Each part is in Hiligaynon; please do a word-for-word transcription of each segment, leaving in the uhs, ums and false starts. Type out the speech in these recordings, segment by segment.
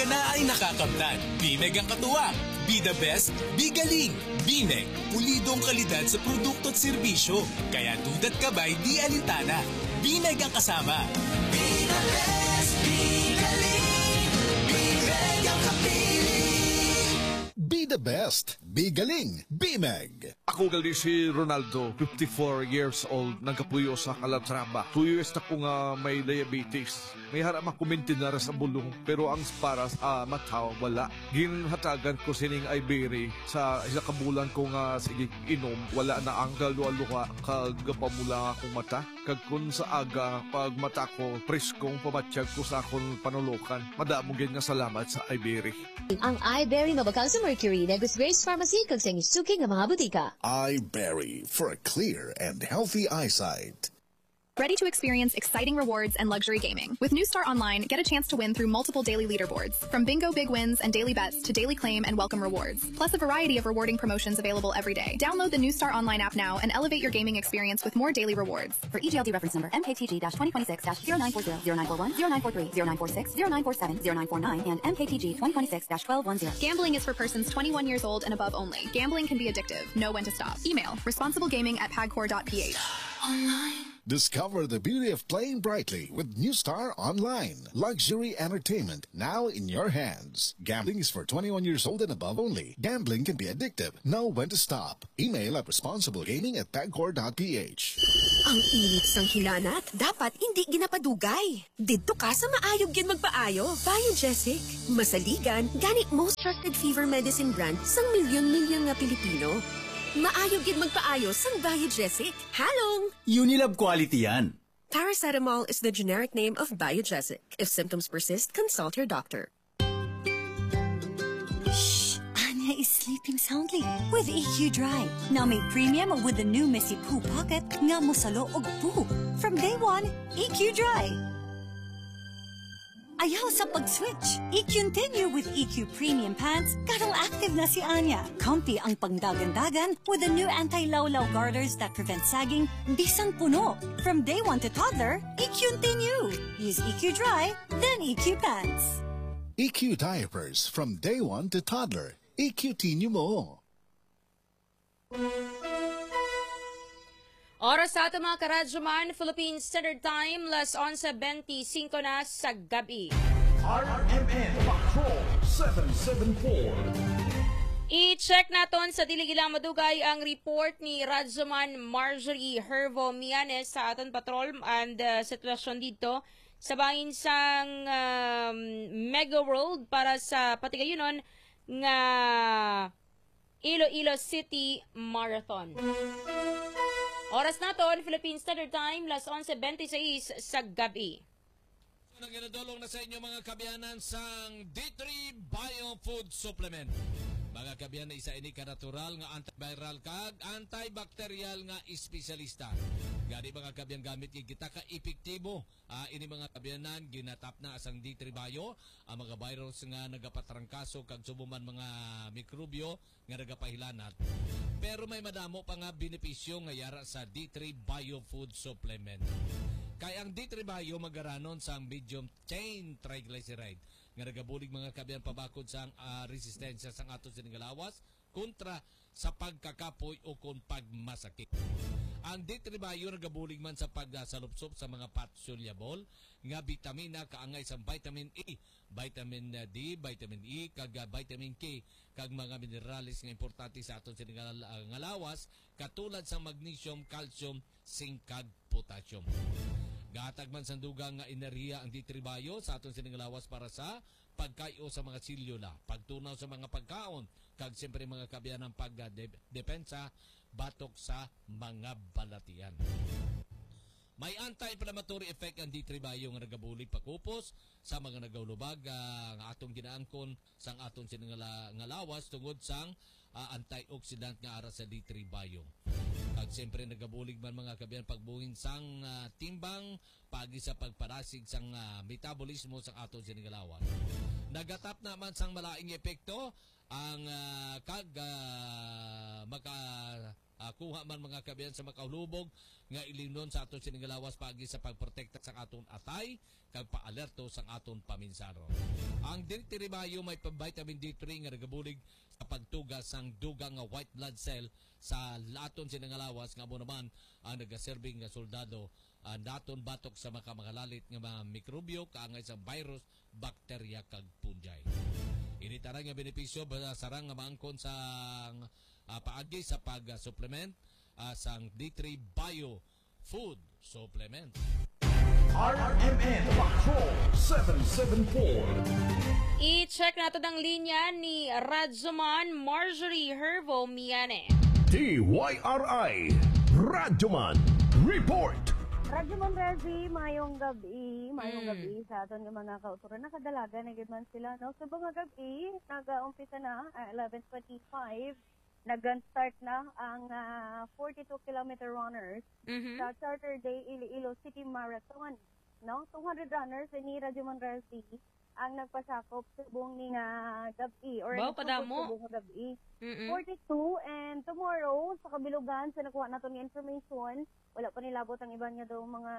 Na ay nakakamtan. Bimeg ang katuwang. Be the best, be galing. Bimeg, pulidong kalidad sa produkto at serbisyo. Kaya duda't kabay di alintana. Bimeg ang kasama. Be the best, be galing. Bimeg ang kapili. Be the best, be galing. Bimeg. Ako gali si Ronaldo, fifty-four years old, nagkapuyo sa Calatrava. Two years na ko nga may diabetes. May hara makumintinara sa bulong, pero ang para sa mata, wala. Ginhatagan ko sining Iberry sa isa ka bulan ko nga sige inom, wala na ang kaluha-luha kag pamula akong mata. Kag kun sa aga, pag mata ko, preskong pamatyag ko sa akon panulokan. Madamo gid nga salamat sa Iberry. Ang Iberry mabakal sa Mercury, Negros Grace Pharmacy, kag sa inyong suki nga mga butika. Iberry for a clear and healthy eyesight. Ready to experience exciting rewards and luxury gaming? With New Star Online, get a chance to win through multiple daily leaderboards, from bingo big wins and daily bets to daily claim and welcome rewards, plus a variety of rewarding promotions available every day. Download the New Star Online app now and elevate your gaming experience with more daily rewards. For E G L D reference number M K T G dash twenty twenty-six dash zero nine four zero, zero nine four one, zero nine four three, zero nine four six, zero nine four seven, zero nine four nine, and M K T G twenty twenty-six dash twelve one zero. Gambling is for persons twenty-one years old and above only. Gambling can be addictive. Know when to stop. Email responsiblegaming at pagcor dot P H. Discover the beauty of playing brightly with New Star Online. Luxury entertainment now in your hands. Gambling is for twenty-one years old and above only. Gambling can be addictive. Know when to stop. Email at responsiblegaming at pagcor dot P H. Ang init sang hilanat, dapat hindi ginapadugay. Didto ka sa maayog gid magpaayo, Biogesic. Masaligan, gani most trusted fever medicine brand sang milyon-milyon nga Pilipino. Maayog gid magpaayo sang Biogesic. Halong! Unilab quality yan. Paracetamol is the generic name of Biogesic. If symptoms persist, consult your doctor. Shh! Anya is sleeping soundly with E Q Dry. Now may premium with the new Messy Poo Pocket nga mosalo og poo from day one. E Q Dry. Ayaw sa pag-switch. E Q continue with E Q Premium Pants. Karong active na si Anya. Comfy ang pangdagan-dagan with the new anti-lawlaw garters that prevent sagging bisan puno. From day one to toddler, E Q continue. Use E Q Dry, then E Q Pants. E Q diapers from day one to toddler. E Q continue mo. Oras sa aton, mga karadyoman, Philippine Standard Time, las onse benti singko na sa gabi. R M N Patrol seven seven four. I-check naton sa dili gila madugay ang report ni Radyoman Marjorie Hervo Mianes sa aton patrol and, uh, sitwasyon dito sa bahin sang, um, Mega World para sa patigayunon nga Iloilo City Marathon. Oras naton, Philippine Standard Time, las onse benti seis sa gabi. Nagdulong na sa inyo, mga kaabyanan, sang D three Bio Food Supplement. Mga kaabyanan, isa ini ka natural nga antiviral kag antibacterial nga espesyalista. Gani, mga kaabyanan, gamit gid kita ka epektibo. Ah, ini, mga kaabyanan, ginatapna sang D three Bio ang mga virus nga nagapatrangkaso kag subong man mga mikrobyo nga nagapahilanat. Pero may madamo pa nga benepisyo nga yara sa D three Bio Food Supplement. Kay ang D three Bio magaranon sang medium chain triglyceride nga nagabulig, mga kaabyanan, pabakod sang, ah, resistensya sang aton sining nga lawas kontra sa pagkakapoy o kon pagmasakit. Ang D three Bio nagabulig man sa pagsalupsop sa mga fat-soluble nga bitamina kaangay sang vitamin E, vitamin D, vitamin E, kag, ah, vitamin K, kag mga minerales nga importante sa aton sining nga, nga lawas, katulad sa magnesium, calcium, zinc, kag potassium. Gahatag man sang dugang nga enerhiya ang D three Bio sa aton sining nga lawas para sa pagkay-o sa mga selyula, pagtunaw sa mga pagkaon, kag siyempre, mga kaabyanan, pag, ah, de-, depensa batok sa mga balatian. May anti-inflammatory effect ang D three Bio nga nagabulig pakupos sa mga nagahulubag, ah, nga atong ginaangkon sang aton sining nga la-, nga lawas tungod sang, ah, antioxidant nga ara sa D three Bio. Kag siyempre, nagabulig man, mga kaabyanan, pagbuhin sang, ah, timbang paagi sa pagpadasig sang, ah, metabolismo sang aton sining nga lawas. Nagatapna man sang malaing epekto ang, ah, kag, ah, maka Ah, kuha man, mga kabayan, sa makahulubog nga ilimnon sa aton sining lawas paagi sa pagprotekta sa aton atay kag paalerto sa aton paminsaro. Ang District Bayo may pa-, vitamin D three nga nagabulig sa pagtuga sang dugang nga white blood cell sa aton sining lawas, nga amo naman ang nagaserbi nga soldado, ah, naton batok sa mga makalalit nga mga mikrobyo kaangay sa virus, bakterya kag fungi. Ini tanan nga benepisyo ba-, sarang nga maangkon sa, ah, paagi sa pag-supplement, ah, sang D three Bio Food Supplement. R M N Patrol seven seven four. I-check nato ang linya ni Radyoman Marjorie Hervo Miane. D Y R I Radyoman Report. Radyoman Rezi, mayong gabi. Mayong Mm. gabi sa aton nga mga kauturan. Nakadalagan na gid man sila, no? Sa mga gabi, nag-umpisa na, ah, eleven twenty-five. Nag-start na ang, ah, forty-two kilometer runners Mhm. sa Charter Day Iloilo City Marathon, no? Two hundred runners ni Radyoman Rezi ang nagpasakop subong ni nga gabi or Wow, nagpasakop kadamo. subong nga gabi. Mm-mm. Forty-two, and tomorrow, sa kabilugan, sa nakuha naton nga information, wala pa nilabot ang iban nga daw mga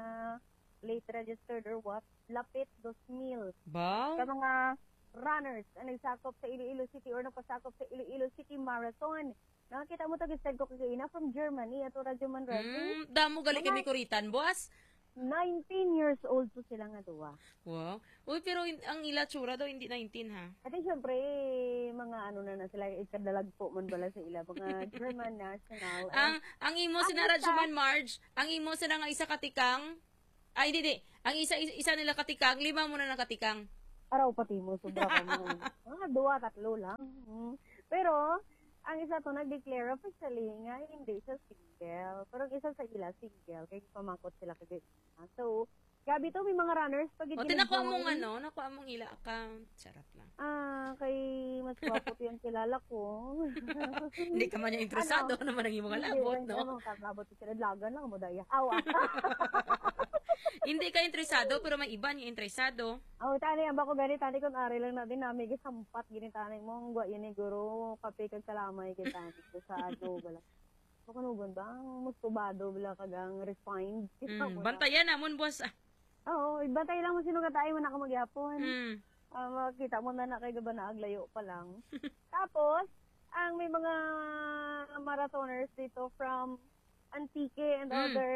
late registered or what, lapit dos mil Ba? ka mga runners ang nagsakop sa Iloilo City or nagpasakop sa Iloilo City Marathon. Nakakita mo to, ginsend ko kagaina from Germany, ato Radyoman Rezi. Mm, damo gali Mga kami kuritan, boss. Nineteen years old to sila nga duwa. Wow. Uy, pero in-, ang ila tsura daw hindi nineteen, ha? Ate, syempre, mga ano na na sila, ikadalagpo man bala sa ila, mga German national. Ang, And ang imo ang sina isa Radyoman Marge, ang imo sina nga isa katikang, ay, hindi, hindi. Ang isa, isa, isa nila katikang, lima mo na nakatikang. Araw pati mo, sobra ka mo. Mga duwa, tatlo lang. Mm. Pero, ang isa to nag-declare officially nga hindi siya single. Pero ang isa sa ila, single. Kaya pamangkot sila kagaina. So, gabi to, may mga runners pa gid O, ginabuhay. Tinakuha mong ano, nakuha mong ila account. Charot lang. Ah, kay mas gwapo to yung kilala ko. Hindi ka man niya interesado, Ano? ano man ang imong Hindi, labot, hindi, no? ano, kang labot ko sila, dalagan lang mo, daya. Awa. Hindi ka interesado, pero may iba niya interesado. Oh, tani, ang bako gani, tani, kung ari lang natin, nami, gisampat, gini, tani, mo, ang gwa, yun, eh, guro, kape, kag kalamay, gini, tani, ko sa ano, wala. Makanugon ba? Ang mustubado, wala, kag ang refined. Mm, Kita mo na. Bantayan namon, boss. Ah. Oo, ibantay lang mo sino ka tayo, man ako magyapon. Mm. Ah, makita mo na na kay gaba na aglayo pa lang. Tapos, ang may mga marathoners dito from Antique and Mm. other,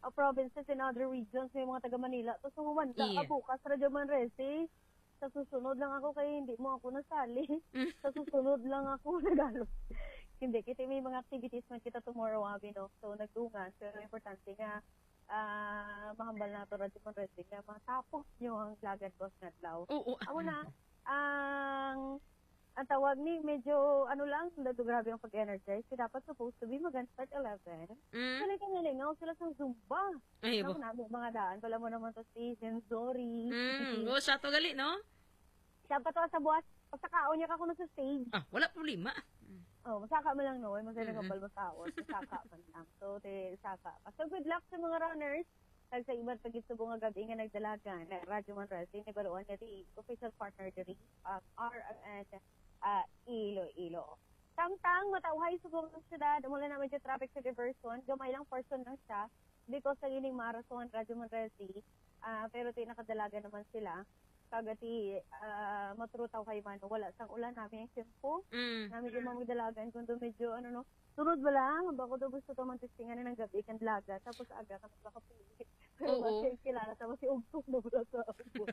uh, provinces and other regions, may mga taga Manila. Tapos, humanda Iya. ka bukas, Radyo Manresi. Sa susunod lang ako kay hindi mo ako nasali. Mm. Sa susunod lang ako nagalo. Hindi, kasi may mga activities man kita tomorrow, abi, no? So, nagdungan. Pero importante nga, ah, mahambal na to, Radyo Manresi, nga matapos nyo ang Dagan Boss Nadlaw. Oo. Amo na, ang, ang tawag ni, medyo, ano lang, dato grabe ang pag-energize. Kasi dapat supposed to be mag-start eleven. Mm. Kaya ka nalingaw sila sa Zumba. Ay, Naku, bo. nami, mga daan. Wala mo naman to si Sensori. Mm, go, siya to gali, no? Siya pa to sa buwas. Pagkakaon niya ka kuno sa stage. Ah, wala problema. Mm. Oh, masaka mo lang, no? Ay, masaya Mm-mm. nagkambal masaon. Masaka man lang. So, te, saka. So, good luck sa mga runners. Kag sa iban pa gid subong nga gabi nga nagdalagan, na Radyo Manresi, nabaluan nga di official partner diri, ah, R M N, ah, Iloilo. Tangtang, matawhay subong ang syudad, mula na medyo traffic sa diversion, gamay lang portion lang siya, because sa ining marathon, Radyo Manresi, ah, pero ti nakadalagan naman sila. Kag ti, ah, matrutaw kay man, wala sang ulan, nami ang tiyempo. Mm. Nami yung mga dalagan, kundo medyo, ano, no, sunod wala, bako daw gusto to man testingan ng gabi, kan dalaga, tapos aga ka magpakapili. Pero Oo. Basta yung kilala, tapos si Ugtong na wala sa abot.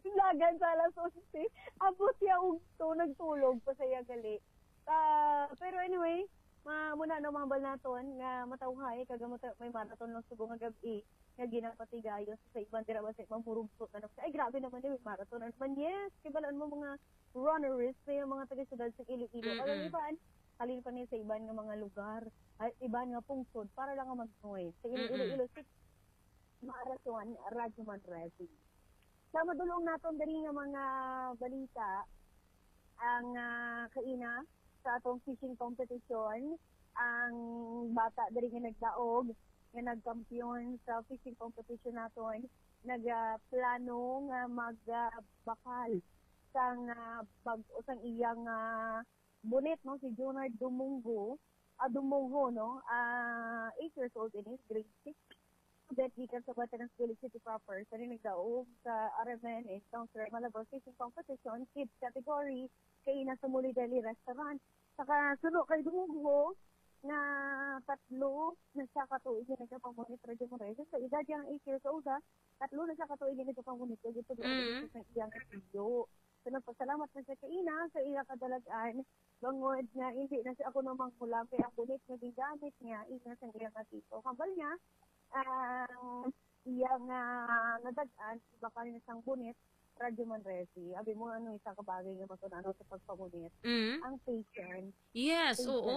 Dalagan sa alas onse, abot siya Ugtong, nagtulog pa siya gali. Ah, pero anyway, ma-, muna, no, mahambal naton nga matawhay, kag mata-, may marathon lang subong nga gabi nga ginapatigayon sa iban dira ba sa ibang murugso na naman. Ay, grabe naman yun, may marathon na naman. Yes, kibalaan mo mga runneries, may mga taga-syudad sa Iloilo. Mm-mm. Ang iban, halin pa niya sa iban nga mga lugar, ay, iban nga pungsod, para lang nga mag-join. Sa Iloilo, Mm-mm. Iloilo City, marathon, Radyo Manresi. Sa madulong naton diri nga mga balita, ang, ah, kaina sa atong fishing competition, ang bata diri nga nagdaog, nga nagkampiyon sa fishing competition naton, nagaplano nga magbakal sang, ah, bag-o sang iyang, ah, bunit, no, si Junard Dumungo, ah, Dumoho, no? Ah, eight years old ini, grade six. Student gikan sa Veterans Village City proper, sa nagdaog sa R M N and Councilor Malabon Fishing Competition, Kids category, kay ina sa Muli Deli Restaurant. Sa kasuno kay Dumoho, nga tatlo na siya ka tuig nga nagapamonitor sa Radyo Manresa. Sa edad niya nga eight years old, ha, tatlo na siya ka tuig nga nagapamonitor. Ito Mm. sa iyang studio. So, nagpasalamat na siya kay ina sa iya kadalagan. Bangod nga hindi na siya ako namang mula kay ang bunit nga gingamit niya, ina sa iya nga tito. Kambal niya, ang iya nga nadag-an, iba ka rin isang bunit, Radyo Manresi. Abi mo, ano, isa ka bagay nga matunano sa pagpamunit? Mm. Ang patience. Yes, Patience. oo.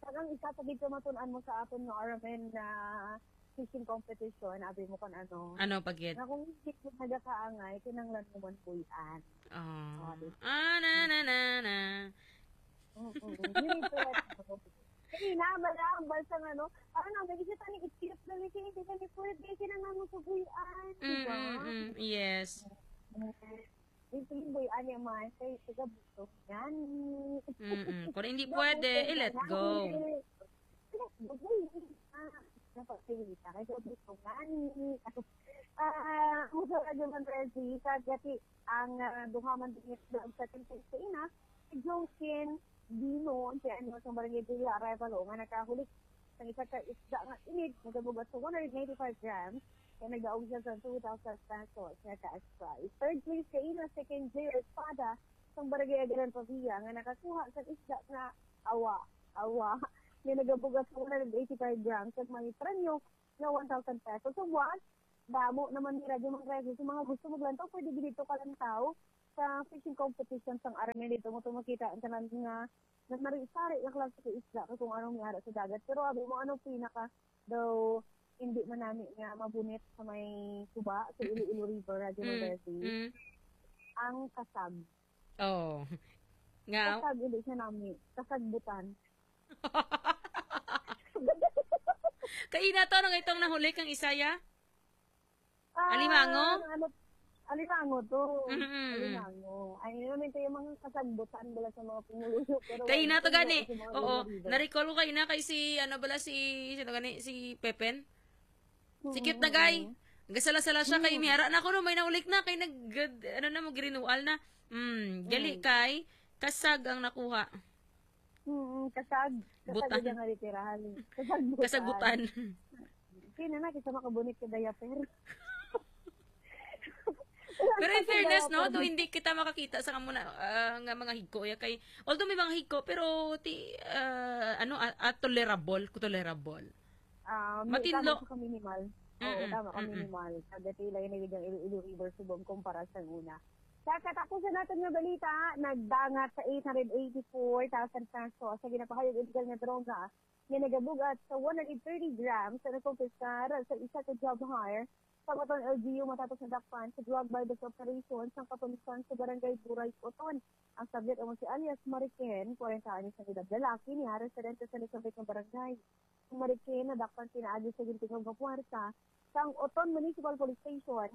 Kag ang isa pa gid ka matun-an mo sa aton nga R M N na fishing competition, abi mo kung ano. Ano, pagit? Na kung hindi ka nagakaangay, kinanglan mo man puy-an. Oh. Ah, di ba? Ah, na, na, na, na. Mm-mm. Yun yung pwede. Kaya na, malambal sa ano, ano, may isa tani, itirap na ni siya, hindi ka ni pwede, kinanglan mo sa puy-an, di ba? Mm-mm, yes. Mm. Yung puy-an niya man, kay taga Butong yan. Mm-mm. Kung hindi Taga pwede, Butong eh, let yan. go. Let go, eh. Ah, dapat pilita, kay taga Butong yan. Ah, ang sa Radyo Manresi, sa Gati, ang, ah, duha man din yung sa Tintin sa Ina, si Jokin Dino, ang ano, sa Barangay Villa Arevalo, nga nakahulik sa isa ka isda nga inig, nagabugat sa one hundred ninety-five grams, kaya nagdaog siya sa two thousand pesos nga cash prize. Third place kay Ina, second J Espada, sa Barangay Agaran Pavia, nga nakakuha sa isda nga awa, awa, nga nagabugat sa one hundred eighty-five grams, at may premyo nga one thousand pesos. So, buwan, damo naman ni Radyo Manresi. Sa mga gusto maglantaw, pwede dito kalantaw sa fishing competition sang R M N dito. Mo to makita ang tanan nga na nari-sari nga klase sa isda kay kung anong may ara sa dagat. Pero abi mo, ano pinaka daw hindi man nami nga mabunit sa may suba, sa Iloilo River, Radyo Mm, Manresi? mm. Ang kasag. Oh. Nga? Kasag, hindi siya nami. Kasagbutan. Kaina to, ano nga itong nahuli kang Isaya? Ah, Alimango? Ano, Alimango to. Mm-mm. Alimango. Ay, yun naman ito yung mga kasagbutan nila sa mga pumuluyo. Pero Kay wala na to ito gani. sa mga Oo. Ilo River. Na-recall ko kay na kay si, ano bala, si, sino gani, si Pepen? Si cute na guy. Mm-mm. Gasala-sala siya kay Mm. mihara na ako no, may naulik na kay nag, ano na, mag-renewal na. Mm, gali Mm. kay kasag ang nakuha. Mm, kasag. Kasag Butan. Ang nga literal. Kasagbutan. Kasagbutan. Kaya na, kisa makabunit ka diaper. Pero in Kasi fairness, no, diaper. Though hindi kita makakita sa kamuna, ah, nga mga higko, ya, kay, although may mga higko, pero ti, ah, ano, ah, ah, tolerable, tolerable. Ah, may Matinlo. tama ka minimal. Oo, Mm-mm, tama ka mm-mm. minimal. Pagdati lang yung nagiging Iloilo River subong kumpara sa una. Sa katapusan natin nga balita, nagdangat sa eight hundred eighty-four thousand pesos sa ginapahayag illegal nga droga nga nagabugat sa one hundred thirty grams sa nakumpiskar sa isa ka job hire sa Oton L G U matapos nadakpan sa drug buy-bust operation sang kapulisan sa barangay Buray, Oton. Ang subject amo si alias Mariken, kwarenta anyos ang edad, lalaki, niya residente sa nasambit nga barangay. Ang Mariken nadakpan pinaagi sa gintingog nga puwersa sang Oton Municipal Police Station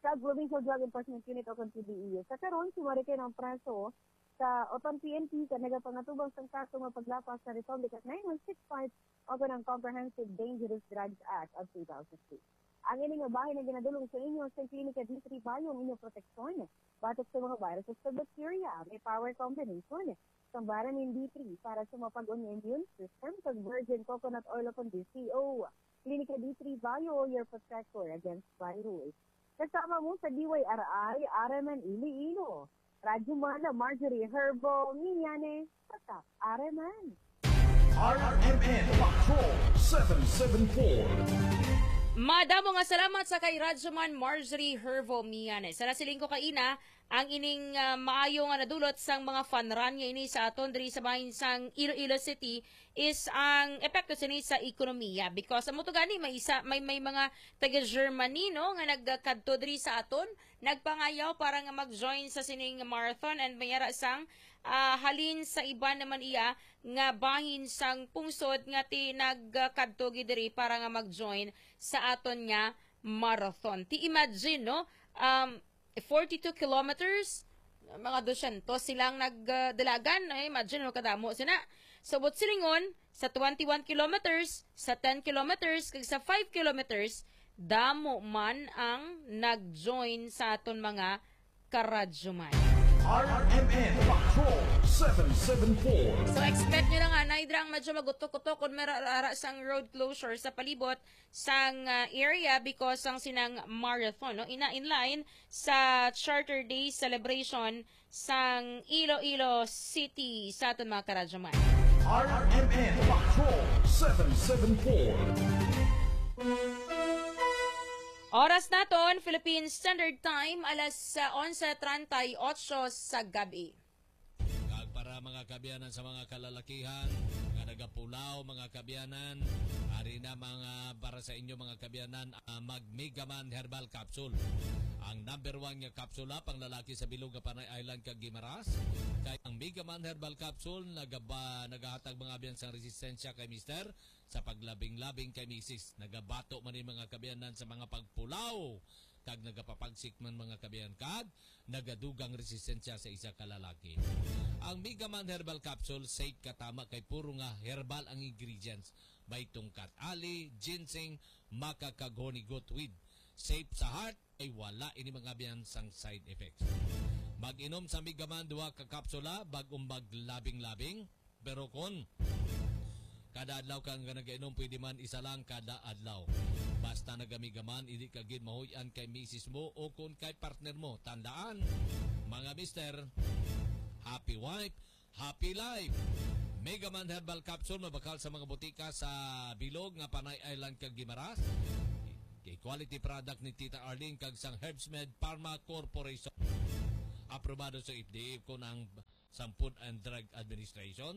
sa Provincial Drug Enforcement Unit o kung P D E U. Sa karon, si Mariken ang preso sa Oton P N P sa nagapangatubang sang kaso nga paglapas sa Republic Act nine one six five o kanang Comprehensive Dangerous Drugs Act of two thousand two. Ang ini nga bahin ang ginadulong sa inyo sa Klinika D three Bio, ang inyong proteksyon batok sa mga viruses ug bacteria. May power combination sa Varamin D three para sa mapag-on nga immune system, kag virgin coconut oil o kundi C O. Klinika D three Bio, your protector against virus. Kasama mo sa D Y R I, R M N Iloilo. Radyo Mana, Marjorie Herbo, Minyane, Tatak, R M N. R M N Patrol seven seven four. Madamo nga salamat sa kay Radyoman Marjorie Hervo Miyanes. Sa nasiling ko kaina, ang ining, ah, maayo nga nadulot sang mga fun run nga ini sa aton diri sa bahin sang Iloilo City is ang epekto sini sa ekonomiya. Because amo to gani, may isa, may, may mga taga Germany, no, nga nagkadto diri sa aton, nagpangayaw para nga mag-join sa sining marathon, and may ara sang, ah, halin sa iban naman iya nga bahin sang pungsod nga ti nagkadto gid diri para nga mag-join sa aton nga marathon. Ti imagine, no? Um, forty-two kilometers, mga dosyentos silang nagdalagan. Ay, imagine, no, kadamo sina. Sa Buot Silingon, sa twenty-one kilometers, sa ten kilometers, kag sa five kilometers, damo man ang nag-join sa aton mga karadyoman. R M N Patrol seven seven four. So, expect nyo na nga, naay dira ang medyo magutok-utok kung mara-, ara sang road closure sa palibot sang, ah, area because sang sinang marathon, no? Ina in line sa Charter Day celebration sang Iloilo City sa aton mga karadyoman. R M N Patrol seven seven four. Oras naton, Philippine Standard Time, alas, ah, onse treinta y ocho sa gabi. Kag para mga kaabyanan sa mga kalalakihan nga nagapulaw, mga kaabyanan, ari na mga para sa inyo mga kaabyanan, ah, mag Megaman Herbal Capsule. Ang number one nga kapsula pang lalaki sa bilog nga Panay Island kag Guimaras kay ang Megaman Herbal Capsule nagaba-, nagahatag mga abyan sang resistensya kay mister sa paglabing-labing kay misis. Nagabato man ni mga kaabyanan sa mga pagpulaw kag nagapapagsik man mga kaabyanan kag nagadugang resistensya sa isa ka lalaki. Ang Megaman Herbal Capsule safe ka tama kay puro nga herbal ang ingredients. May tungkat ali, ginseng, maca kag honey goat weed. Safe sa heart, ay wala ini mga abyan sang side effects. Mag-inom sa Megaman duha ka kapsula bag-o maglabing-labing. Pero kon kada adlaw ka nga nag-inom, pwede man isa lang kada adlaw. Basta nagamigaman, hindi ka gid mahuy-an kay misis mo o kon kay partner mo. Tandaan, mga mister, happy wife, happy life. Megaman Herbal Capsule mabakal sa mga butika sa bilog nga Panay Island kag Guimaras. Kay quality product ni Tita Arlene kag sang Herbsmed Pharma Corporation. Aprobado sa F D A kon ang sa Food and Drug Administration.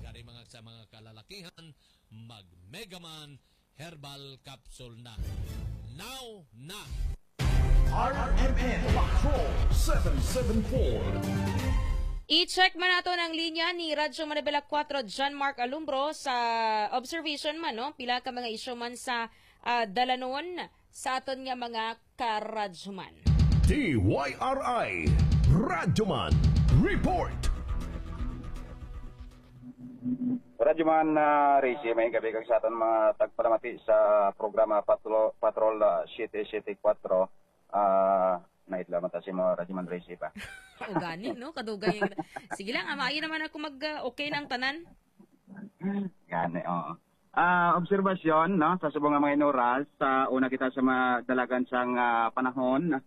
Gani mga sa mga kalalakihan, mag Megaman Herbal Capsule na. Now na! R M N Patrol seven seven four. I-check man nato ang linya ni Radyo Manibela four, John Mark Alumbro, sa observation man, no? Pila ka mga isyu man sa, ah, dalanon sa aton nga mga karadyoman. D Y R I Radyoman Report. Radyoman, ah, Rizy, may gabi kag sa aton mga tagpalamati sa programa Patro-, Patrol, ah, siyete siyete kwatro. Ah, naidla man ta si mo, Radyoman Rizy ba? O gani, no? Kadugay. Sige lang, ah, maayo naman ako mag, ah, okay na ang tanan. Gani, oo. Ah, obserbasyon, no, sa subong nga mga inuras, sa una kita sa madalagan sang, ah, panahon,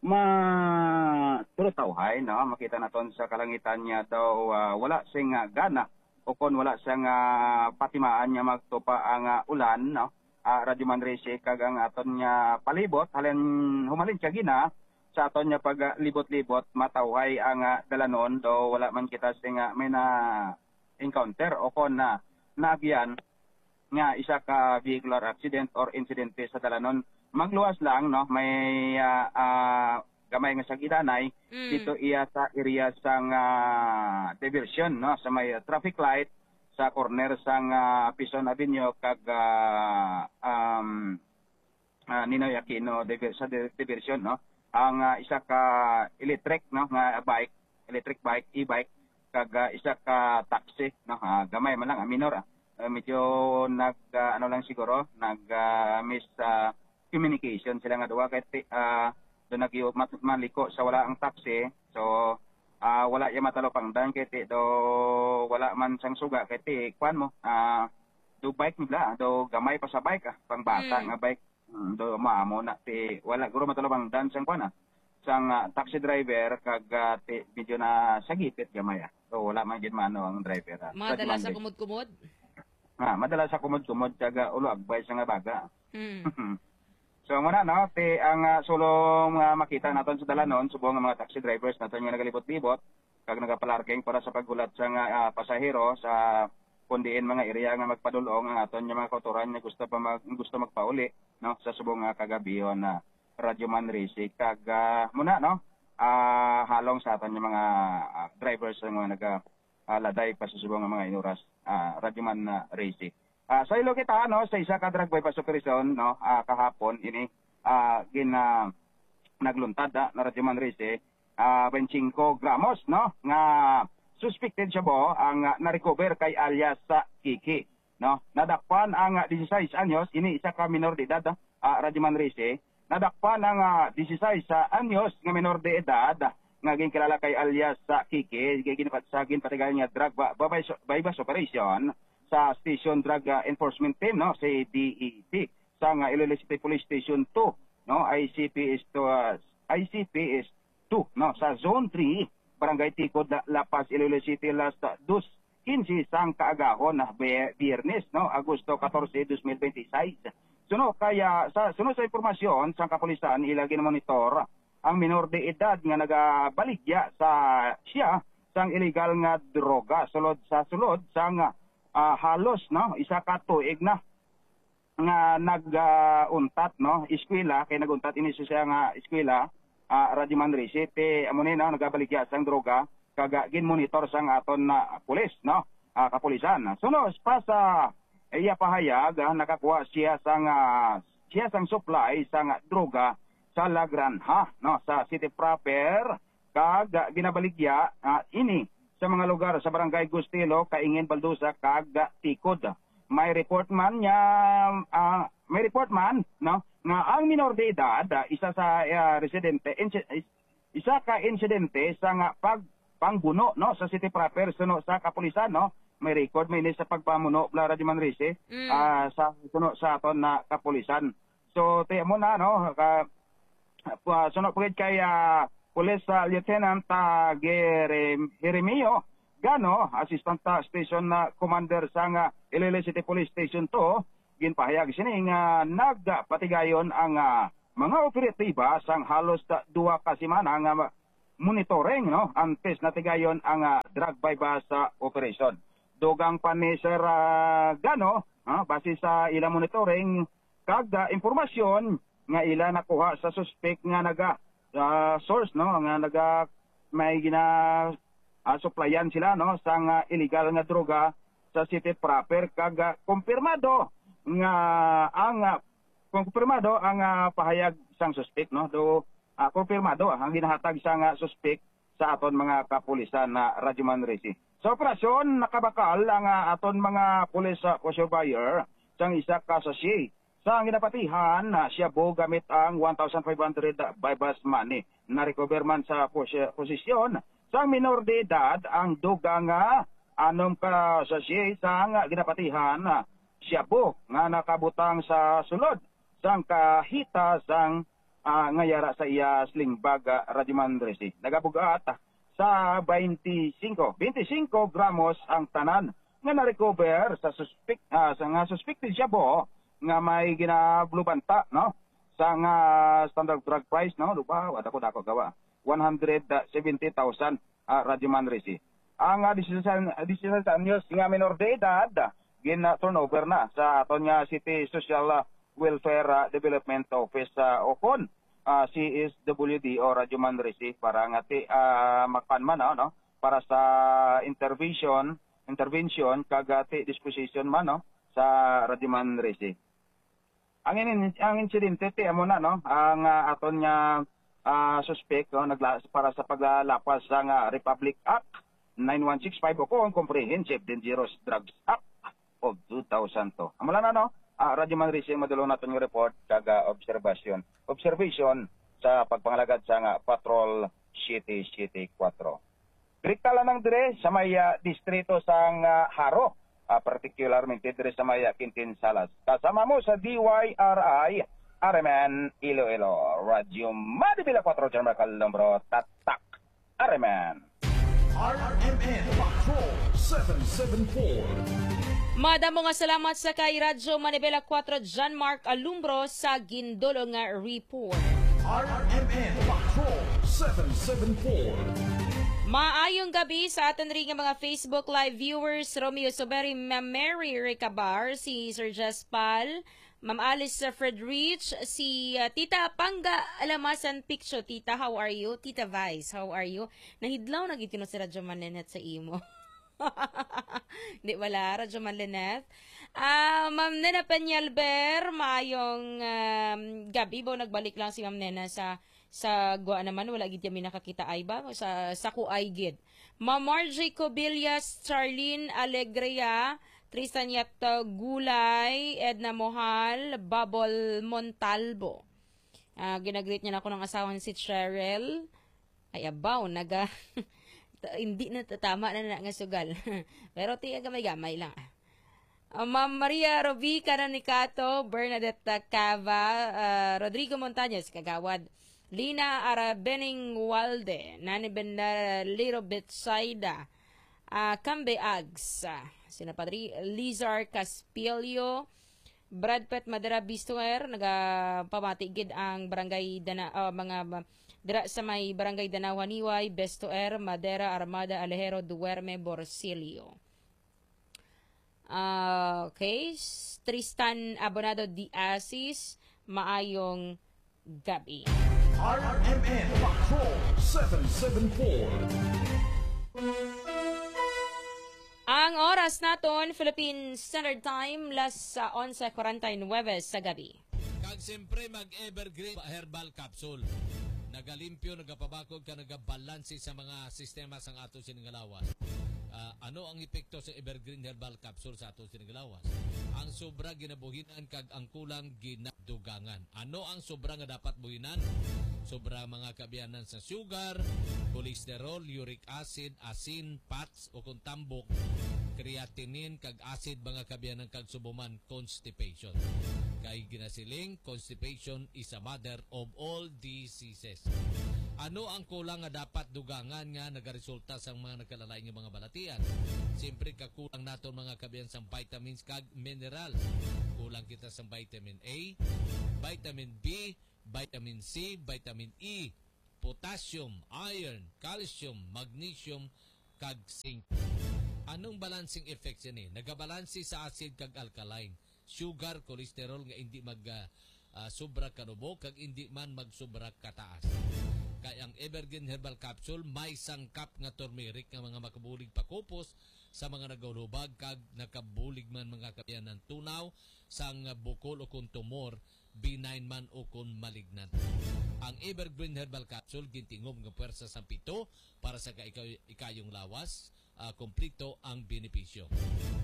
ma-, pero tawhay, no, makita naton sa kalangitan niya daw, ah, wala sing, ah, gana o kon wala sang, ah, patimaan nga magtupa ang, ah, ulan, no. Ah, Radyoman Rizy, kag ang aton nga palibot, halin, humalin siya gina, sa aton nga paglibot-libot, matawhay ang, ah, dalanon, daw wala man kita sing, ah, may na encounter o kon na naagyan nga isa ka vehicular accident or insidente sa dalanon. Magluwas lang, no, may, ah, ah, gamay nga sagidanay Mm. dito iya sa area sang, ah, diversion, no, sa may, ah, traffic light sa corner sang, ah, Pison Avenue kag, ah, um, ah, Ninoy Aquino diver-, sa di-, diversion, no? Ang, ah, isa ka electric, no, nga bike, electric bike, e-bike, kag, ah, isa ka taxi, no? Ah, gamay man lang, ah, minor, ah. Ah, medyo nag, ah, ano lang siguro, nag, ah, mis-, ah, communication sila nga duha kay ti-, ah, do nag-, mat-, maliko sa wala ang taxi. So, ah, wala iya matalupangdan kay ti-, do wala man sang suga kay ti-, kuan mo, ah, do bike nila, do gamay pa sa bike, ah, pang bata Mm. nga bike. Mm, do maamo na ti wala guro matalupangdan sang kuan, ah, sang, ah, taxi driver kag, ah, ti medyo na sagipit gamay, ah. So wala man gid maano ang driver, ah. Madala sa kumod-kumod? Ah, madala sa kumod-kumod kag, ah, ulo agbay sa nga baga. Mm. So muna, no, ti ang, ah, sulong, ah, makita naton sa dalanon, subong nga mga taxi drivers naton nga nagalibot-libot, kag nagapalarking para sa paghulat sa nga, ah, pasahero sa kon diin mga area nga magpadul-ong ang aton nga mga kautoran nga gusto pa mag-, gusto magpauli, no, sa subong nga kagabihon na Radyo Manrique. Kag, ah, muna, no, ah, halong sa aton nga mga, ah, drivers nga mga naga, ah, laday pa sa subong nga mga inuras, ah, Radyo Man, ah, Ricky. Ah, sa ilo kita, no, sa isa ka drug bypass operation, no, ah, kahapon ini, ah, gin, ah, nagluntad, ah, na Radyo Manrique, ah, twenty-five gramos, no, nga suspected shabu ang, ah, na-recover kay alias, ah, Kiki, no? Nadakpan ang, ah, dieciséis anyos, ini isa ka minor de edad, ah, ah, Radyo Manrique. Nadakpan ang, ah, dieciséis anyos nga minor de edad nga ginkilala kay alias, ah, Kiki, kay ginapat-, sa ginpatigayon nga drug ba-, ba-, buy-, buy-bust operation sa Station Drug, ah, Enforcement Team, no, C D E T, sa nga Iloilo City Police Station two, no, I C P S two, ah, I C P S two, no, sa Zone three, Barangay Tikod, La, La Paz, Iloilo City, last, ah, dos quince sang kaagahon, ah, Be-, Biyernes, no, Agosto catorce, dos mil bente y seis. Suno kaya, sa, suno sa impormasyon sang kapulisan, ila ginamonitor ang minor de edad nga nagabaligya sa siya sang illegal nga droga sulod sa sulod sang, ah, halos, no, isa ka tuig na nga nag, ah, untat, no, eskwela, kay nag-untat ini sa siya nga eskwela, ah, Radyo Manrique, ti amo ni, no, nagabaligya sang droga, kag, ah, ginmonitor sang aton na pulis, no, ah, kapulisan. Suno pa sa iya pahayag, ah, nakakuha siya sang, ah, siya sang supply sang droga sa La Granja, no, sa city proper, kag, ah, ginabaligya, ah, ini sa mga lugar sa Barangay Gustilo, Kaingin, Baldosa, kag, ah, Tikod. May report man niya, ah, may report man, no, nga ang minor de edad, ah, isa sa, ah, residente, insi-, is-, isa ka insidente sa nga pag-, pangbuno, no, sa city proper, suno sa kapulisan, no. May record may ini sa pagpamuno, Bla Radyo Manrique, Mm. ah, sa suno sa aton na kapulisan. So, ti amo na, no, ka, ah, suno pa gid kay, ah, Police, ah, Lieutenant, ah, Jerem-, Jeremio Gano, Assistant, ah, Station, ah, Commander sa nga Iloilo City Police Station two, ginpahayag sini nga nagpatigayon ang, ah, mga operatiba sang halos, ah, duha ka semana nga ma-, monitoring, no, antes natigayon ang, ah, drug buy-bust, ah, operation. Dugang pa ni Sir, ah, Gano, ah, base sa ila monitoring kag, ah, impormasyon nga ila nakuha sa suspek nga naga, ah, source, no, nga naga, may gina, ah, suplayan sila, no, sang, ah, illegal nga droga sa city proper kag, ah, kumpirmado nga ang, ah, kumpirmado ang, ah, pahayag sang suspek, no, do, ah, kumpirmado ang ginahatag sang, ah, suspek sa aton mga kapulisan na Radyo Manrique. Sa operasyon, nakabakal ang, ah, aton mga pulis, ah, surveyor sang isa ka sachet sa ginapatihan, ah, shabu gamit ang one thousand five hundred buy-bust money. Na-recover man sa pos-, posisyon sang minor de edad ang dugang, ah, anom ka sachet sang ginapatihan, ah, shabu nga nakabutang sa sulod sang kahita sang, ah, nga yara sa iya sling bag, ah, Radyo Manrique. Nagabug-at sa twenty-five, twenty-five gramos ang tanan nga na-recover sa suspek-, ah, sa nga suspected shabu nga may ginablubanta, no? Sa nga standard drug price, no? Lupa, wala ko dako gawa. One hundred seventy thousand, ah, Radyo Manrique. Ang, ah, dieciséis, dieciséis anyos nga minor de edad, gin, ah, turnover na sa aton nga City Social, ah, Welfare, ah, Development Office, ah, o kon, ah, C S W D o Radyo Manrique para nga ti, ah, makan man, ah, no? Para sa intervention, intervention kag, ah, ti disposition man, no? Sa Radyo Manrique. Ang in-, ang insidente ti amo na, no? Ang, ah, aton nga, ah, suspek, no, nagla-, para sa paglalapas sa nga Republic Act nine one six five o kon Comprehensive Dangerous Drugs Act of two thousand two. Amo lang na, no? Ah, Radyo Manrique, madulong naton nga report kag, ah, obserbasyon. Observation sa pagpangalagad sa nga Patrol City City four. Direkta lang dire sa may, ah, distrito sang, ah, Jaro, ah, partikularmente dire sa may, ah, Quintin Salas. Kasama mo sa D Y R I, R M N Iloilo, Radyo Manibela four, John Mark Alumbro, tatak, R M N. R M N Patrol seven seven four. Madamo nga salamat sa kay Radyo Manibela four, John Mark Alumbro, sa gindulo nga report. R M N Patrol seven seven four. Maayong gabi sa aton rin nga mga Facebook Live viewers, Romeo Soberi, Ma'am Mary Recabar, si Sir Jaspal, Ma'am Alice Fredrich, si, ah, Tita Pangga Alamasan Picture. Tita, how are you? Tita Vice, how are you? Nahidlaw na gid kuno si Radyo Man Nenette sa imo. Di wala, Radyo Man Lynette. Ah, Ma'am Nena Peñalver, maayong, um, gabi. Bo, nagbalik lang si Ma'am Nena sa Sa gwa naman, wala gid kami nakakita ay ba? Sa, sa kuay gid. Ma'am Margie Cobillas, Charlene Alegria, Tristan Yat, uh, Gulay, Edna Mohal, Babol Montalbo. Ah, ginagreet niya na ako ng asawa ni si Cheryl. Ay, abaw, naga, ta-, hindi na, tama na na nga sugal. Pero tiya gamay-gamay lang. Ah, Ma'am Maria Robica Nanicato, Bernadette Cava, ah, Rodrigo Montañez, Kagawad, Lina Arabening Walde, Nani Bendalero Betsaida, ah, Kambe Ags, ah, sina Padre Lizar Caspilio, Brad Pet Madera Bistuer, nagapamati gid ang barangay Dana-, ah, mga ba-, dira sa may barangay Danawaniway, Bestuer, Madera, Armada, Alejero, Duerme, Borsilio. Ah, okay. S-, Tristan Abonado de Asis, maayong gabi. R M N Patrol seven seven four. Ang oras naton, Philippine Standard Time, las sa onse cuarenta y nueve sa gabi. Kag siyempre, mag-Evergreen Herbal Capsule. Nagalimpyo, nagapabakod, ka nagabalanse sa mga sistema sang ato sining lawas. Ah, ano ang epekto sa Evergreen Herbal Capsule sa ato sining lawas? Ang sobra ginabuhinan kag ang kulang ginadugangan. Ano ang sobra nga dapat buhinan? Sobra mga kaabyanan sa sugar, cholesterol, uric acid, asin, fats, o kung tambok, creatinine, kag acid, mga kaabyanan, kag subo man, constipation. Kay ginasiling, constipation is a mother of all diseases. Ano ang kulang nga dapat dugangan nga nagaresulta sa mga nagkalain nga mga balatian? Siyempre, kakulang naton mga kaabyanan sang vitamins kag minerals. Kulang kita sa vitamin A, vitamin B, vitamin C, vitamin E, potassium, iron, calcium, magnesium, kag zinc. Anong balancing effect sini? Nagabalanse sa acid kag alkaline, sugar, cholesterol nga hindi mag, ah, ah, sobra kanubo kag hindi man magsubra kataas. Kay ang Evergreen Herbal Capsule may sangkap nga turmeric nga mga makabulig pakupos sa mga nagahulubag kag nakabulig man mga kaabyanan tunaw sang bukol o kon tumor, benign man o kon malignant. Ang Evergreen Herbal Capsule gintingog nga pwersa sang pito para sa ka-, ikaw-, ikayong lawas, ah, kompleto ang benepisyo.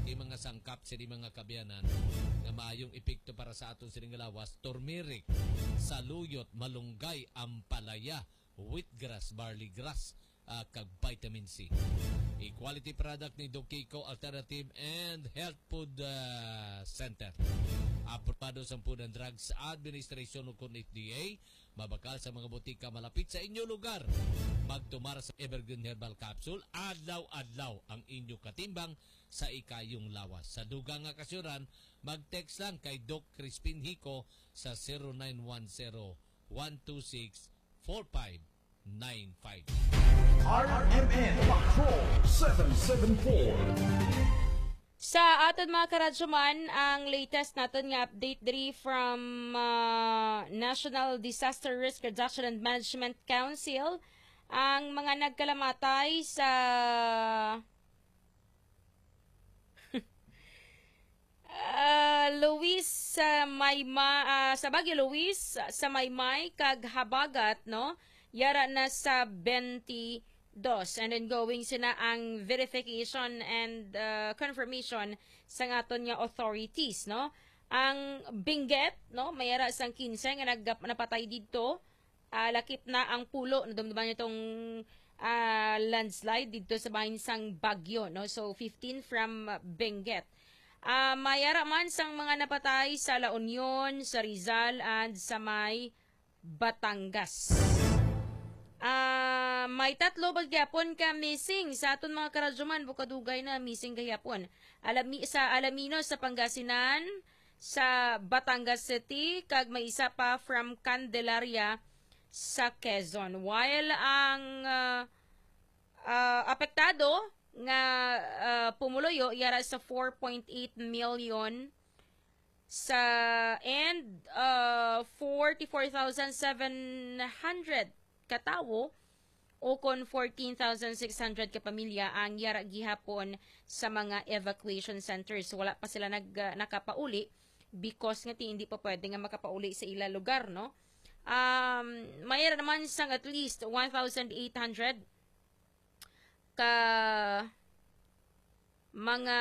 Kay mga sangkap sini mga kaabyanan nga maayong epekto para sa aton sining lawas, turmeric, saluyot, malunggay, ampalaya, wheatgrass, barley grass, ah, kag vitamin C. A quality product ni Doc Kiko Alternative and Health Food, ah, Center. Aprobado sang Food and Drugs Administration o kon F D A, mabakal sa mga botika malapit sa inyo lugar. Magtumar sa Evergreen Herbal Capsule, adlaw-adlaw ang inyo katimbang sa ikayong lawas. Sa dugang nga kasyuran, mag-text lang kay Doc Crispin Hico sa zero nine one zero, one two six, four five nine five. R M N Patrol seven seven four. Sa aton mga karadyoman, ang latest naton nga update diri from, ah, National Disaster Risk Reduction and Management Council, ang mga nagkalamatay sa Ah, Luis, sa Mayma-, ah, sa Baguio, Luis, sa Maymay kag Habagat, no? Yara na sa twenty-dos. And then going sina ang verification and, ah, confirmation sa aton nga authorities, no? Ang Benguet, no? Mayara sang quince nga nag-, napatay didto. Ah, lakip na ang Pulo. Nadumduman niyo tong, ah, landslide didto sa bahin sang Baguio, no? So, fifteen from, ah, Benguet. Ah, mayara man sang mga napatay sa La Union, sa Rizal, and sa may Batangas. Ah, may tatlo pa gihapon ka missing sa aton mga karadyoman, bukadugay na missing gihapon. Alami-, sa Alaminos sa Pangasinan, sa Batangas City, kag may isa pa from Candelaria sa Quezon. While ang, ah, ah, apektado nga, ah, pumuluyo yara sa four point eight million sa, and, ah, forty-four thousand seven hundred ka tawo o kon fourteen thousand six hundred ka pamilya ang yara gihapon sa mga evacuation centers. Wala pa sila nag-, ah, nakapauli because nga ti hindi pa pwede nga makapauli sa ila lugar, no? Um, may ra naman sang at least one thousand eight hundred ka mga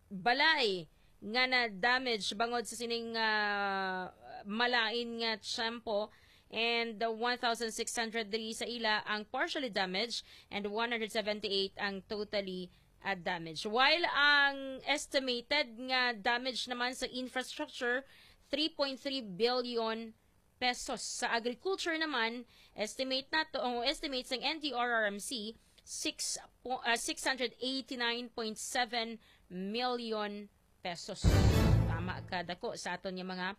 balay nga na-damage bangod sa sining, ah, malain nga tiyempo, and the one thousand six hundred diri sa ila ang partially damaged and one hundred seventy-eight ang totally, ah, damaged. While ang estimated nga damage naman sa infrastructure, three point three billion pesos. Sa agriculture naman, estimate nato, ang estimate sang N D R R M C, six po, ah, six hundred eighty-nine point seven million pesos. Tama ka dako sa aton nga mga,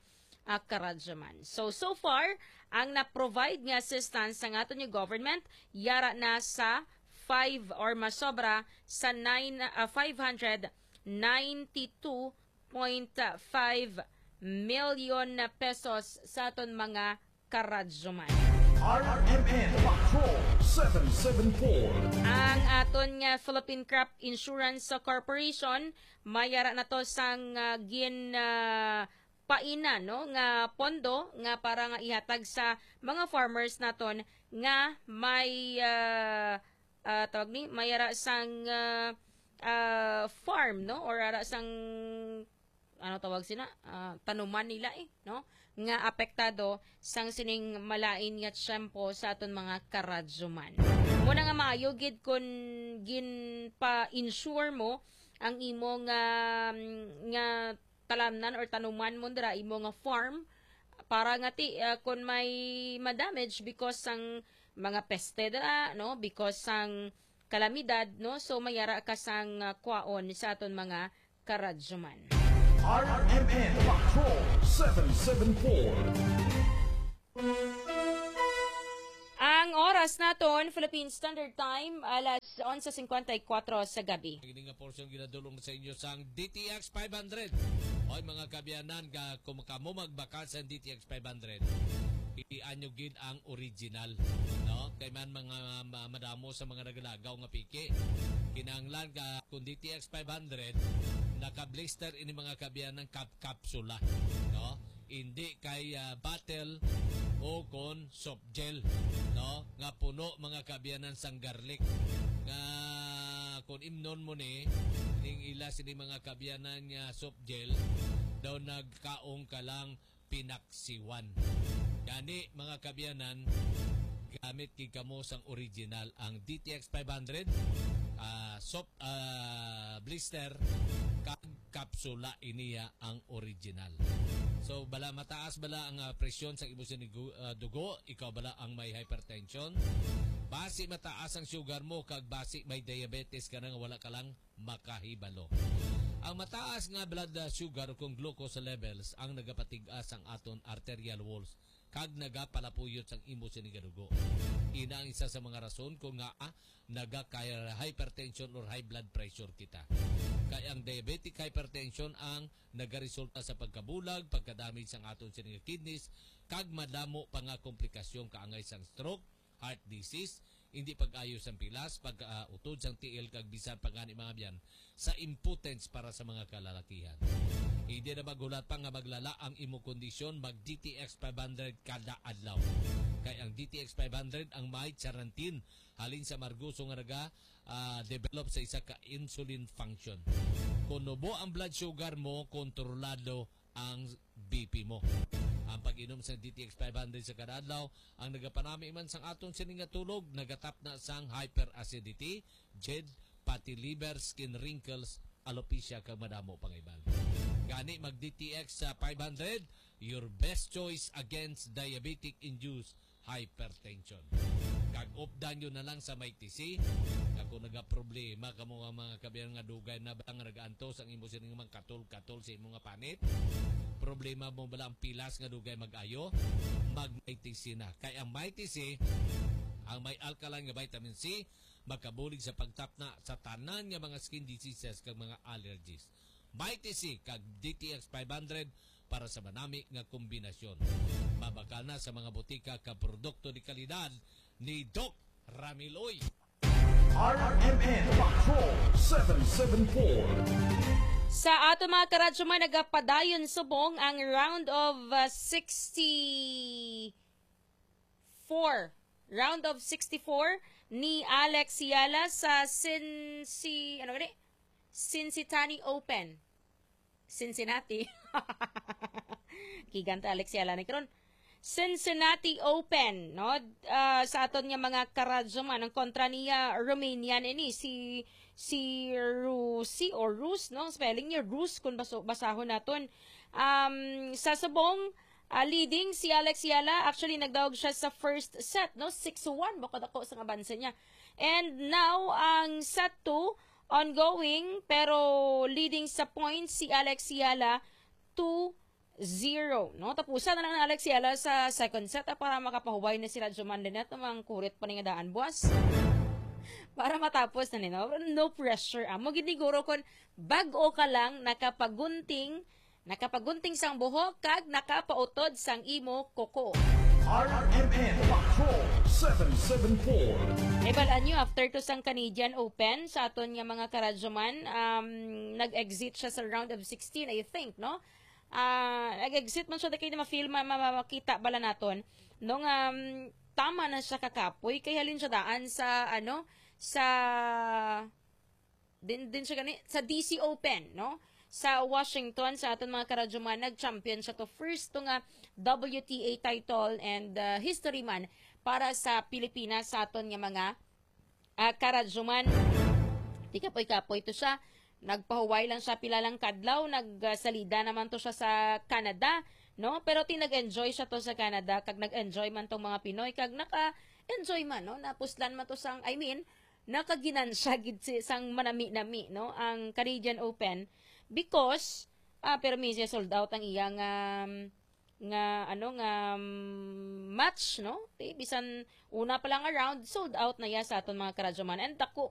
ah, karadyaman. So, so far, ang na-provide nga assistance sang aton nga government, yara na sa five or masobra sa nine, ah, five hundred ninety-two point five million na pesos sa aton mga karadyoman. R M N Patrol seven seven four. Ang aton nga Philippine Crop Insurance Corporation, may ara na to sang, ah, gin, ah, paina, no, nga pondo nga para nga ihatag sa mga farmers naton nga may, ah, ah, tawag ni, may ara sang, ah, ah, farm, no, or ara sang, ano tawag sina, ah, tanuman nila, eh, no, nga apektado sang sining malain nga tiyempo sa aton mga karadyoman. Muna nga maayo gid kun ginpa-insure mo ang imo nga, nga talamnan or tanuman mo dira, imo nga farm, para nga ti, ah, kun may ma-damage because sang mga peste dira, no, because sang kalamidad, no, so mayara ka sang, ah, kwaon sa aton mga karadyoman. R M N Patrol seven seven four. Ang oras naton, Philippine Standard Time, alas onse cincuenta y cuatro sa gabi. Ini nga portion ginadulong sa inyo sang D T X five hundred. Oy, mga kaabyanan, ka, kung kamo magbakal sa D T X five hundred, pilian nyo gid ang original, no? Kay man mga ma-, madamo sa mga nagalagaw nga piki. Kinahanglan ka kung D T X five hundred, naka-blister ini, mga kaabyanan, kap-, kapsula, no? Hindi kay, ah, bottle o kon soft gel, no? Nga puno, mga kaabyanan, sang garlic. Nga kung imnon mo ni, ning ila sini, mga kaabyanan, nga soft gel, daw nagkaong ka lang pinaksiwan. Gani, mga kaabyanan, gamit gid kamo sang original, ang D T X five hundred, ah, soft, ah, blister, kag kapsula iniya ang original. So, bala mataas bala ang, ah, presyon sa imo sining gu-, ah, dugo, ikaw bala ang may hypertension, basi mataas ang sugar mo, kag basi may diabetes ka na nga wala ka lang makahibalo. Ang mataas nga blood, ah, sugar, kung glucose levels, ang nagapatig-as ang aton arterial walls kag nagapalapuyot sang imo sini nga dugo. Ina ang isa sa mga rason kung ngaa nagaka-hypertension or high blood pressure kita. Kay ang diabetic hypertension ang nagaresulta sa pagkabulag, pagkadamage sang aton sini nga kidneys, kag madamo pa nga komplikasyon kaangay sang stroke, heart disease, hindi pag-ayo sang pilas, pag-, ah, utod sang tiil, kag bisan pa gani, mga abyan, sa impotence para sa mga kalalakihan. Hindi na maghulat pa nga maglala ang imo kondisyon, mag D T X five hundred kada adlaw. Kay ang D T X five hundred ang may charantin halin sa margoso nga naga, ah, develop sa isa ka insulin function. Kung nubo ang blood sugar mo, kontrolado ang B P mo. Ang pag-inom sa D T X five hundred sa kada adlaw, ang nagapanami man sang aton sini nga tulog, nagatapna sang hyperacidity, jed, fatty liver, skin wrinkles, alopecia, kag madamo pang iban. Gani, mag D T X sa five hundred, your best choice against diabetic-induced hypertension. Kag updan nyo na lang sa Mighty C. Kag kung nagaproblema kamo nga mga kaabyan nga dugay na ba nga nagaantos ang imo sining mga katol-katol sa imo nga panit, problema mo bala ang pilas nga dugay mag-ayo, mag Mighty C na. Kay ang Mighty C, ang may alkaline nga vitamin C, makabulig sa pagtapna sa tanan nga mga skin diseases kag mga allergies. Mighty C kag D T X five hundred para sa manami nga kombinasyon. Mabakal na sa mga botika ka produkto de kalidad ni Doc Ramiloy. R M N Patrol seven seven four. Sa aton mga karadyo man, nagapadayon subong ang round of uh, sixty-four. Round of sixty-four ni Alex Yala sa Cinci-, ano gani? Cincinnati Open. Cincinnati. Gigante Alex Yala ni karon. Cincinnati Open, no? Ah, sa aton nga mga karadyo man, ang kontra niya, Romanian ini, si, si Rusi o Rus, no? Spelling niya, Rus, kung baso-, basahon naton. Um, sa subong, ah, leading si Alex Yala, actually, nagdaog siya sa first set, no? Six one, bako dako sa abanse niya. And now, ang set two, ongoing, pero leading sa points si Alex Yala, two zero, no? Tapusan na lang ni Alex Yala sa second set, ah, para makapahuway na sila Juman Lynette, ang kurit pa ni nga daan buwas. Para matapos na ni, no? No pressure. Amo gid ni guro, kon bag-o ka lang nakapagunting, nakapagunting sang buhok kag nakapautod sang imo kuko. R M N Patrol seven seven four. Ibal-an nyo, after to sang Canadian Open, sa aton nga mga karadyoman, um, nag-exit siya sa round of sixteen, I think, no? Ah, nag-exit man siya, di kayo ma-feel, ma-, ma-, ma-, makita bala naton, no, nga, um, tama na siya kakapoy, kay halin siya daan sa, ano, sa, din, din siya gani, sa D C Open, no? Sa Washington, sa aton mga karadyoman, nag-champion siya to. First to nga W T A title and, uh, history man para sa Pilipinas, sa aton nga mga, ah, karadyoman. Di kapoy-kapoy to siya. Nagpahuway lang siya pila lang kadlaw, nagsalida naman to siya sa Canada, no? Pero ti nag-enjoy siya to sa Canada, kag nag-enjoy man tong mga Pinoy, kag naka-enjoy man, no? Napuslan man to sang, I mean, nakaginansya gid si, sang manami-nami, no? Ang Canadian Open, because, ah, pero minsan sold out ang iyang, um, nga, ano, nga, um, match, no? Ti, bisan una pa lang nga round, sold out na ya sa aton mga karadyoman. And dako